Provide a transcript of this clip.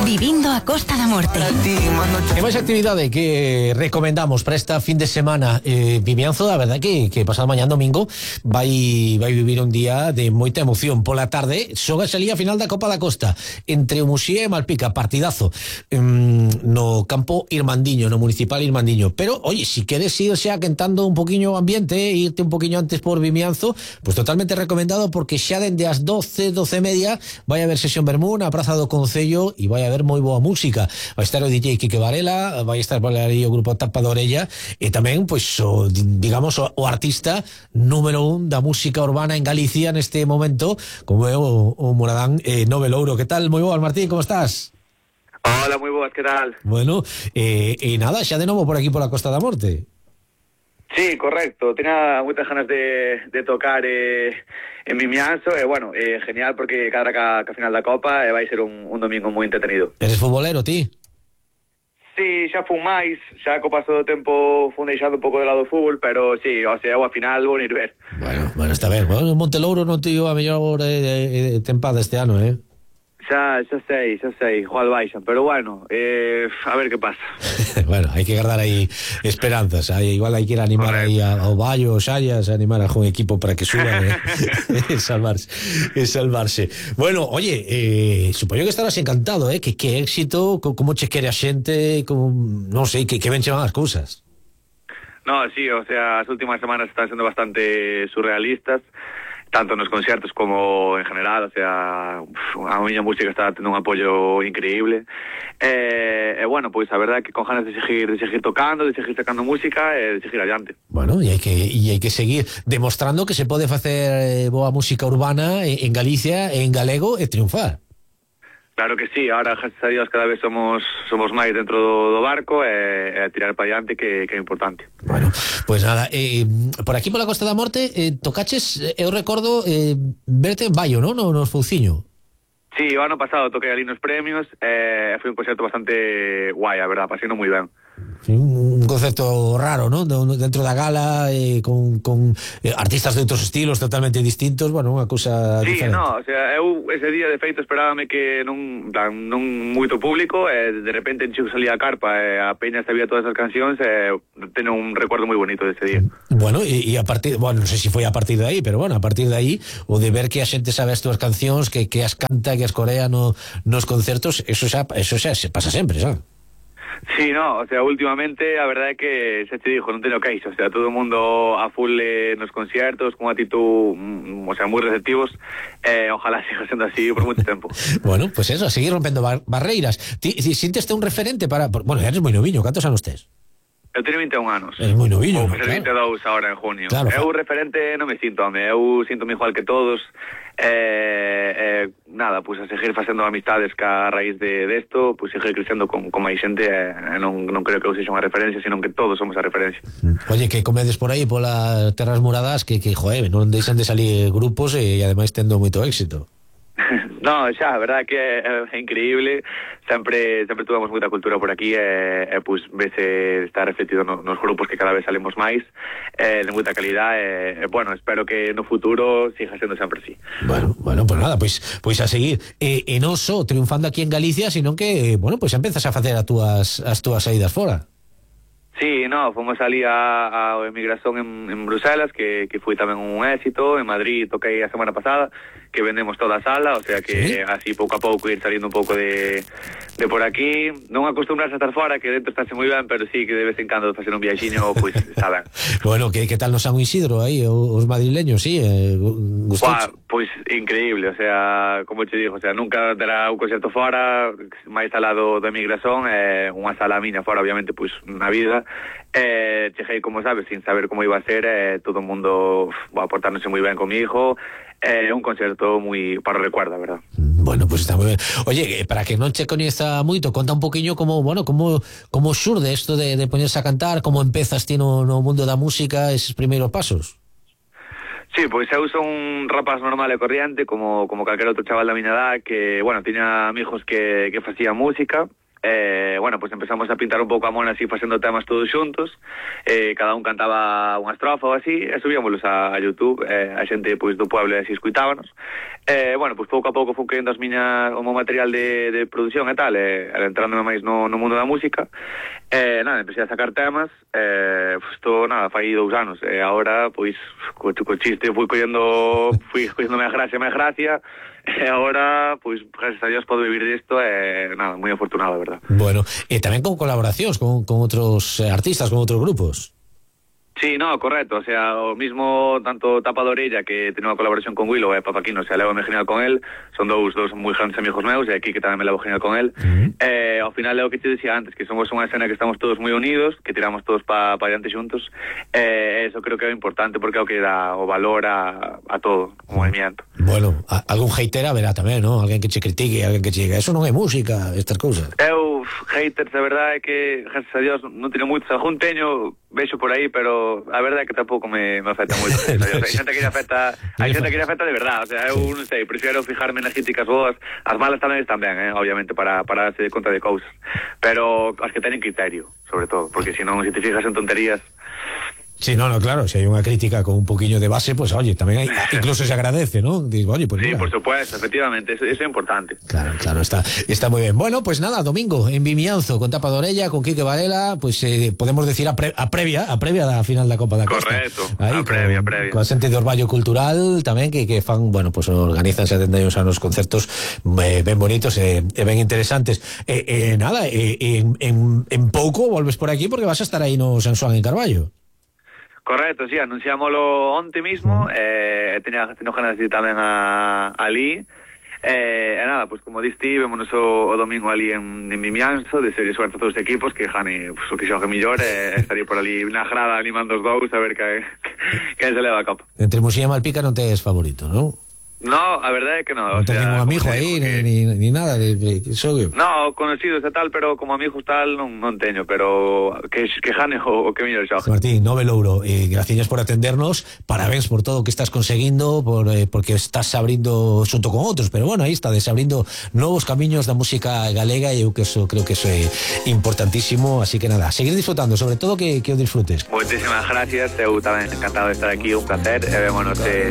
Vivindo a Costa da Morte. E máis actividade que recomendamos para esta fin de semana. Vimianzo, a verdade que pasado mañán domingo vai vivir un día de moita emoción. Pola tarde xoga a liga final da Copa da Costa entre o Muxía e Malpica, partidazo no campo Irmandiño, no municipal Irmandiño. Pero, oye, si queres ir xa quentando un poquinho o ambiente, irte un poquinho antes por Vimianzo, pues totalmente recomendado, porque xa dende as 12:30 vai haber sesión vermú na Praza do Concello e vai haber moi boa música. Vai estar o DJ Quique Varela, vai estar por aí o grupo Tapa de Orella e tamén, pois, o artista número 1 da música urbana en Galicia neste momento, como é o Moradán Novelouro. Que tal? Moi boas, Martín, como estás? Hola, moi boas, que tal? Bueno, nada, xa de novo por aquí por a Costa da Morte. Sí, correcto. Tenía moitas ganas de tocar en Vimianzo e, bueno, genial, porque cada ca final da Copa vai ser un domingo moi entretenido. Eres futbolero, ti? Sí, xa fun máis, xa co paso do tempo fun deixando un pouco de lado o fútbol, pero sí, o sea, ao final vou ir ver. Bueno, está ben. Bueno, Montelouro non tivo a mellor tempada este ano, Xa sei, igual baixan, pero bueno, a ver que pasa. Bueno, hai que guardar aí esperanzas. Igual hai que ir a animar aí ao Baio, ao Xallas, a animar a algún equipo para que suban e salvarse. Bueno, oye, supoño que estarás encantado, que éxito, como che quere a xente, non sei, que ben che van as cousas. No, sí, o sea, as últimas semanas están sendo bastante surrealistas, tanto nos concertos como en general, o sea, a miña música está tendo un apoio increíble. Bueno, pois a verdade é que con ganas de seguir tocando, de seguir sacando música e de seguir adiante. Bueno, e hai que seguir demostrando que se pode facer boa música urbana en Galicia, en galego, e triunfar. Claro que sí, ahora, gracias a Dios, cada vez somos máis dentro do barco e tirar para adiante, que é importante. Bueno, pues nada, por aquí pola Costa da Morte tocaches, eu recordo verte en Baio, non? Nos Fouciño. Sí, o ano pasado toquei ali nos premios, foi un concerto bastante guai, a verdad, paseino moi ben. Sí, un concepto raro, ¿no? Dentro da gala, con artistas de outros estilos totalmente distintos, bueno, unha cousa diferente. Sí, no, o sea, eu ese día de feito esperábame que non moito público, e de repente encheu salía a carpa e a peña sabía todas as cancións, e teño un recuerdo moi bonito dese día. Bueno, e a partir, bueno, non sei se foi a partir de aí, pero bueno, a partir de aí, o de ver que a xente sabe as túas cancións, que as canta, que as corea nos concertos, eso xa se pasa sempre, xa. Sí, no, o sea, últimamente a verdade é que xa te digo, non teño queixo, o sea, todo o mundo a full nos conciertos, con actitud, o sea, moi receptivos, ojalá siga sendo así por moito tempo. Bueno, pues eso, a seguir rompendo barreiras. Ti sinteste un referente bueno, eres moi noviño, cantos anos tes? Eu teño 21 anos. Eres moi noviño, claro. 22 ahora en junio. Claro, eu referente non me sinto, eu sinto-me igual que todos. Nada, pues a seguir facendo amistades que a raíz de esto, pues seguir crecendo con máis xente, non creo que eu sexa unha referencia, sino que todos somos a referencia. Oye, que comedes por aí polas terras muradas que joder, non deixan de salir grupos e ademais tendo moito éxito. No, xa, a verdade que é increíble. Sempre tuvemos moita cultura por aquí, pues vese está refletido nos grupos que cada vez salimos máis, de moita calidade, bueno, espero que no futuro siga sendo sempre así. Bueno, pues nada, pues a seguir, e non só triunfando aquí en Galicia, sino que, bueno, pues empezas a facer as túas saídas fora. Sí, no, fomos ali a emigración en Bruselas, que foi tamén un éxito. En Madrid toquei a semana pasada, que vendemos toda a sala, o sea que ¿sí? Así pouco a pouco ir saliendo un pouco de por aquí. Non acostumbrarse a estar fora, que dentro estáse moi ben, pero sí que de vez en cando facer un viaxiño, pois está ben. Bueno, que tal no San Isidro aí, os madrileños, sí? Pois increíble, o sea, como te digo, o sea, nunca terá un concerto fora, máis alado da emigración, unha sala miña fora, obviamente, pois na vida. Cheguei, como sabes, sin saber como iba a ser, todo o mundo aportándose moi ben comigo, un concerto moi para o recuerdo, verdad. Bueno, pues está moi ben. Oye, para que non che coñeza moito, conta un poquinho como xurde isto de poñerse a cantar, como empezas ti no mundo da música, eses primeiros pasos. Sí, pois eu son un rapaz normal e corriente, como calquera outro chaval da miña edad, que, bueno, tiña amigos que facían música, bueno, pues empezamos a pintar un pouco a mona así facendo temas todos xuntos, cada un cantaba unha estrofa ou así, e subíamolos a YouTube, a xente pois do pueblo así escuitábanos. Bueno, pues pouco a pouco fui querendo o meu material de produción e tal, entrándome máis no mundo da música. Nada, empecé a sacar temas, isto, nada, fai 2 anos, e agora, pois, co chiste fui collendo máis gracia, e agora, pois, gracias a Dios podo vivir disto, nada, moi afortunado, de verdad. Bueno, e tamén con colaboracións con outros artistas, con outros grupos. Sí, no, correcto, o sea, o mismo tanto Tapa de Orella, que tiene unha colaboración con Willow e Papaquino, o sea, levo genial con él, son dous moi grandes amigos meus, e aquí que tamén me levo genial con él. Ao final é o que te decía antes, que somos unha escena que estamos todos moi unidos, que tiramos todos pa adiante xuntos, eso creo que é importante, porque é o que dá o valor a todo o movimiento. Bueno, algún hater haberá tamén, ¿no? Alguén que che critique, alguén que che diga, eso non é música, estas cousas. Eu, haters, a verdade é que, gracias a Dios, non teño moitos, algún teño, vexo por aí, pero a verdade é que tampouco me afecta moito. Hai xente que lle afecta, de verdade, o sea, eu non sei, prefiro fijarme nas críticas boas, as malas tamén están ben, obviamente, para darse conta de cousas, pero as que teñen criterio, sobre todo, porque se non, se te fijas en tonterías. Sí, no, claro, si hay una crítica con un poquillo de base, pues oye, también incluso se agradece, ¿no? Digo, oye, pues sí, mira. Por supuesto, efectivamente, eso es importante. Claro, está muy bien. Bueno, pues nada, domingo, en Vimianzo, con Tapa de Orella, con Quique Varela, pues podemos decir a previa da final da Copa da Costa. Correcto, ahí, a previa. Con a xente de Orballo Cultural tamén, que fan, bueno, pues organizanse atendeos a unos concertos ben bonitos e ben interesantes. Nada, en pouco volves por aquí porque vas a estar aí no San Xoán en Carballo. Correcto, sí, anunciámoslo onte mismo, teño ganas de ir tamén ali, nada, pues como diste, vémonos o domingo ali en Vimianzo, de serie suerte a todos os equipos, que Jani, pues, o que xogue millor, estaría por ali na grada animando os dous, a ver que se leva a copa. Entre Musía e Malpica non tes favorito, non? No, a verdade é que non. Non ten ningún amigo aí, ni nada de xogue. No, conocidos e tal, pero como amigos tal non teño, pero que jane o que mellor xogue. Martín, Nove Louro, gracias por atendernos, parabéns por todo o que estás conseguindo, porque estás abrindo xunto con outros, pero bueno, aí está, desabrindo novos camiños da música galega, e eu que creo que eso é importantísimo, así que nada, seguir disfrutando, sobre todo que o disfrutes. Moitísimas gracias, eu tamén encantado de estar aquí, un placer, e vémonos